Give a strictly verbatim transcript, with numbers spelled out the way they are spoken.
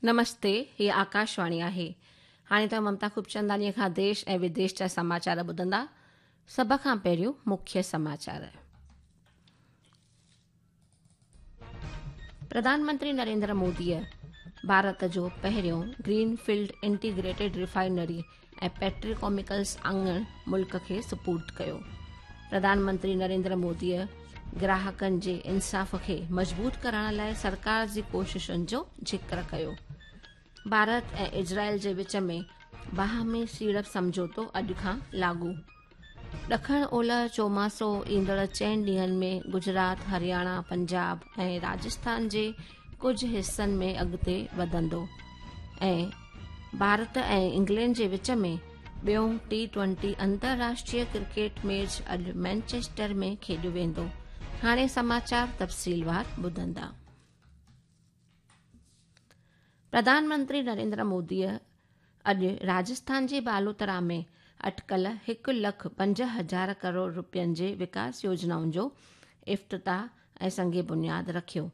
نمستي، هي آڪاشواڻي آهي. هاڻي توهان ممتا خوبچنداڻيء کان ديش ۽ وديش جا سماچار ٻڌندا. سڀ کان پهريون مکيه سماچار. پرڌان منتري نريندر موديء ڀارت جو پهريون گرين فيلڊ انٽيگريٽيڊ ريفائنري ۽ پيٽروڪيميڪلز آڱڻ ملڪ کي سپرد ڪيو. پرڌان منتري نريندر موديء گراهڪن جي انصاف کي مضبوط ڪرڻ لاء سرڪار جي ڪوششن جو ذڪر ڪيو. ڀارت ۽ اسرائيل جي وچ ۾ باهمي سيڙپ سمجهوتو اڄ کان لاڳو. ڏکڻ اولهه چوماسو ايندڙ چئن ڏينهن ۾ گجرات، هرياڻا، پنجاب ۽ راجسٿان جي ڪجهه حصن ۾ اڳتي وڌندو ۽ ڀارت ۽ انگلينڊ جي وچ ۾ ٻيون ٽي ٽوئنٽي انترراشٽريه ڪرڪيٽ ميچ اڄ مينچسٽر ۾ کيڏيو ويندو. هاڻي سماچار تفصيلوار ٻڌندا. پرڌان منتري نريندر موديء اڄ راجسٿان جي بالوترا ۾ اٽڪل هڪ لک پنج هزار ڪروڙ رپين جي وڪاس يوجنائن جو افتتاح ۽ سنگ بنياد رکيو.